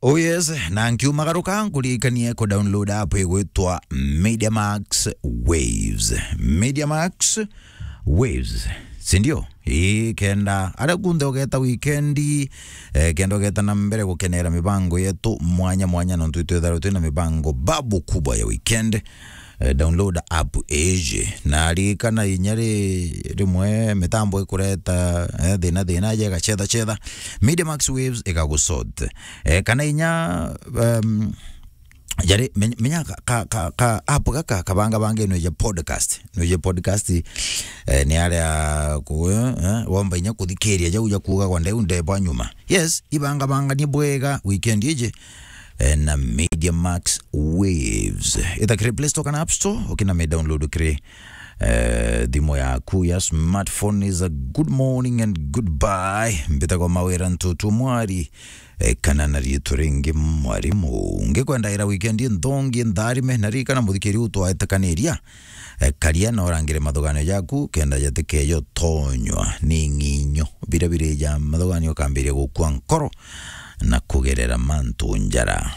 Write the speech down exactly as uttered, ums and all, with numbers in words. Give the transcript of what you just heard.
Oh yes, na nkiumagaruka nkuririkanie ku download app igwitwa Media Max Waves. Media Max Waves, sindio? Ii, kenda aria kunthe ugeta wikendi, eh, kenda ugeta na mbere gukenera mibango yetu mwanya mwanya, nontu itwithagirwa twina mibango babu kubwa ya weekend. Eh, download app iji. Na ririkana inya ri-, rimwe mitambo ikureta, eh, thina thina, je igacetha cetha. Media Max Waves igagusort. Eh, kana inya, um, jari, men-, menya ka, ka, ka, ka app gaka kabanga bange nwije podcast. Nwije podcast, eh, ni aria ku, eh, womba inya kuthikiria jau ja kuuga kwa ndeu ndebwa nyuma. Yes, ibanga banganie bwega weekend iji, eh, na Media Max Waves. Ita kiri Play Store kana App Store, ukina me download kiri, eh, thimu yaku ya smartphone. Is a good morning and goodbye. Mbitagwa Mawira Ntutu Mwari, eh, kana na riitwa ringi Mwarimu. Ngikwendaira weekend nthongi ntharime, na ririkana muthikiri u twaetekaniria, eh, karia na urangire mathuganio jaku, kenda jatikejo tonywa ni ng'inyo. Biria birija mathuganio ukambiria gukua nkoro na kugerera mantu njara.